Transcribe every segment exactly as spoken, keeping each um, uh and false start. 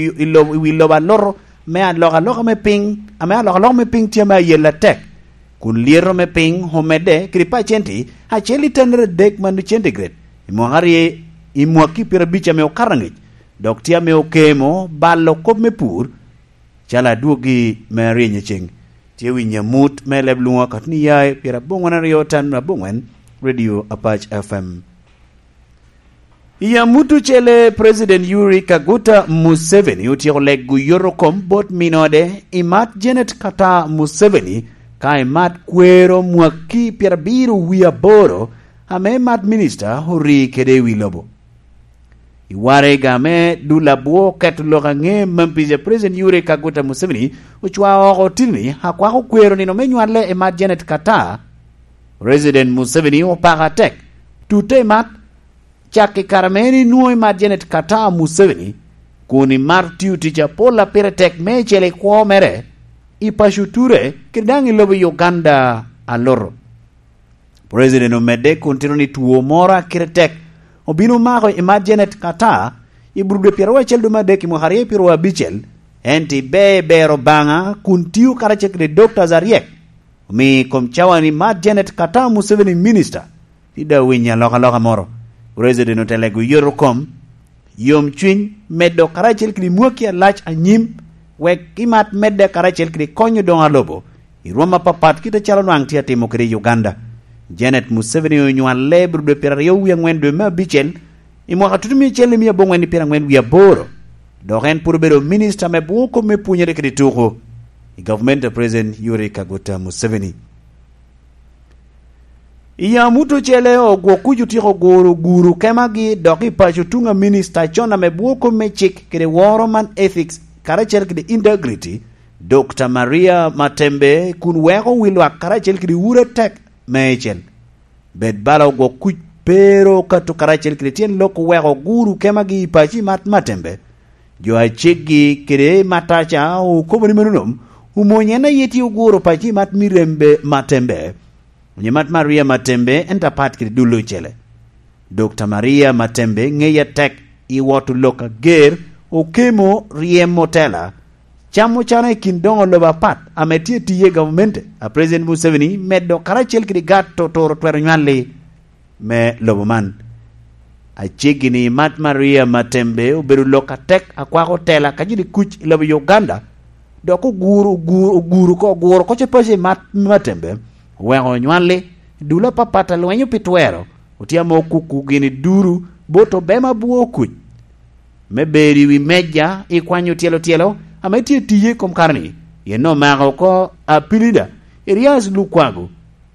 i, i lobo, i wi lobo aloto me alokaloka me piny, ame alokaloka me piny tye ame ayel atek, kun lyeto me piny omedde kede pacenti acel i tannere adek man centigrade i mwaka aryo, i mwaki pyerabic ame okato angec, dok tye ame okemo balo kop me pur, calo adwogi me aryeny i ceng. Tye winyo amut me leb lwoŋo akatni ya i pyeraboŋwen aryo tan aboŋwen, Radio Apac F M. I amut ocele, President Yoweri Kaguta Museveni otyeko lego yot okom bot minode i mat Janet Kataa Museveni, ka i mat kwero mwaki pyerabiro wie aboro, ame mat minista ori kede i wi lobo. I waraga me dul abwo keto lok aŋe, Mampiza President Yoweri Kaguta Museveni ocwao oko otino-ni akwako kwero nino me nywale i mat Janet Kataa. President Museveni opako atek tute i mat, cak i kare ame en inwoŋo i mat Janet Kataa Museveni, kun imato tio tic apol a pire tek meicel i kwo mere, i paco ture, kede daŋ i lobo Uganda aloto. President omedde kun tito ni two moro a kite tek obino mako i mat Janet Kataa i Burude pyeraryo acel dwe me adek i mwaka aryo pyeraryo abicel, ento ibe i bero Obaŋa kun tio karacel kede Doctors aryek, omio i kom cawa ni mat Janet Kataa Museveni minista, ti daŋ winyo alokaloka moro. President ote lego yot okom, yomcwiny, medo karacel kede mwaki alac anyim, wek imat medde karacel kede konyo doŋo a lobo i rwom apapat kit acalo nwaŋ tye atimo kede i Uganda. Janet Museveni onywale i Burude pyeraryo wie aŋwen dwe me abicel i mwaka tutumia acel i mia aboŋwen i pyeraŋwen wie aboro, dok en pwod obedo minista me bwo kop me pwonyere kede tuko i gavumenti a President Yoweri Kaguta Museveni. I amut ocele, ogwok kuc otyeko guro guru kemagi dok i paco tuŋ a minista con ame bwo kop me cik kede woro man ethics karacel kede integrity, Doctor Maria Matembe, kun weko wi lwak karacel kede uro atek meicel. Bed bala ogwok kuc pe ru okato karacel kede tyen lok oweko guru kemagi i paco i mat Matembe. Jo a ceggi kede Mataca okobo ni mano nom, omony en aye tye oguro paco i mat Mirembe Matembe, onyo mat Maria Matembe, ento apat kede dul ocele. Doctor Maria Matembe ŋeye atek i woto lok ager, okemo, ryemo tela, camo cana i kin doŋo lobo apat ame tye tiye i gavumenti a President Museveni medo karacel kede gato toro twero nywalli me lobo man. Aceggi ni mat Maria Matembe obedo lok atek akwako tela ka joni kuc i lobo Uganda, dok oguro, oguro, oguro ko, oguro ko ce paco i mat Matembe, oweko onywalli, dul apapat a lwenyo pi twero, otye ame okuku gini duru bot obema bwo kuc me bedo i wi meja i kwanyo tyelo tyelo ame tye tiye i kom kare-ni, pien omako oko Apilida, Erias Lukwago,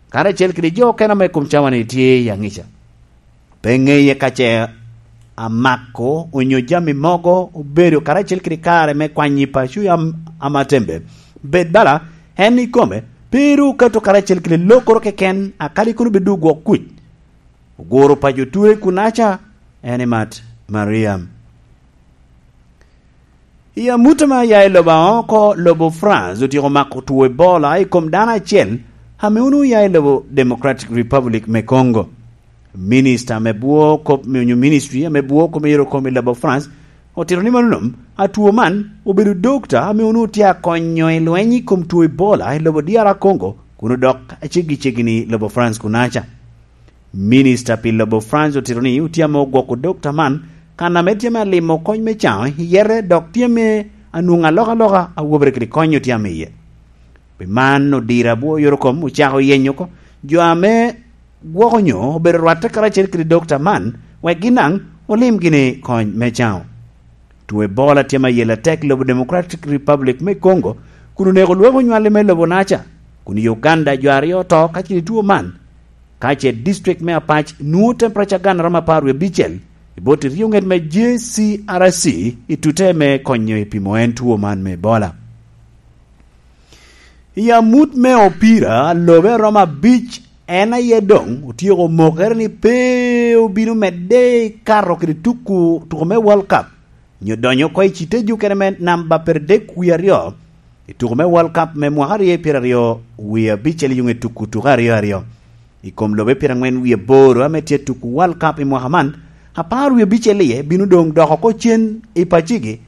karacel kede jo okene ame i kom cawa-ni tye i aŋica. Pe ŋeye ka ce amako onyo jami mogo obedo karacel kede kare me kwanyo i paco a, a Matembe. Bed bala en ikome, pe ru okato karacel kede lokoro keken, akadi kono bed ogwok kuc. Oguro paco ture kunaca, en i mat Mariam. I amut ame aya i lobo aoko, lobo France otyeko mako two Ebola i kom dano acel ame onwoŋo ya i lobo Democratic Republic me Congo. Minista ame bwo kop, onyo ministry ame bwo kop me yero kom i lobo France otito ni mano nom, atwo man obedo dokta ame onwoŋo tye akonyo i lweny i kom two Ebola i lobo D R Congo, kun odok aceggi ceggi ni lobo France kunaca. Minista pi lobo France otito ni otye ame ogwoko dokta man kan ame tye ame alimo kony me caŋo i yete, dok tye ame anwoŋo alokaloka a wobere kede kony otye ame iye. Pi man, odiro abwo yorokom ocako yenyo oko jo ame gwok onyo obedo rwatte karacel kede dokta man, wek gin daŋ olim gini kony me caŋo. Two Ebola tye mayel atek i lobo Democratic Republic me Congo, kun oneko lwak onywalli me lobo naca, kun i Uganda jo aryo oto kacel i two man, ka ce district me Apac nwoŋo temperature gana romo apar wie abicel i bot i ryo ŋet me J C R C i tute me konyo i pimo en two man me Ebola. I amut me opira, lobe romo abic en aye doŋ otyeko mokere ni pe obino medde i kato kede tuko, tuko me World Cup, nyo donyo oko i citej okene me namba pyeradek wie aryo i tuko me World Cup me mwaka aryo pyeraryo wie abicel i yo ŋe tuko tuko aryo aryo. I kom lobe pyeraŋwen wie aboro ame tye tuko World Cup i mwaka man, apar wie abicel iye bino doŋ dok oko cen i pacigi,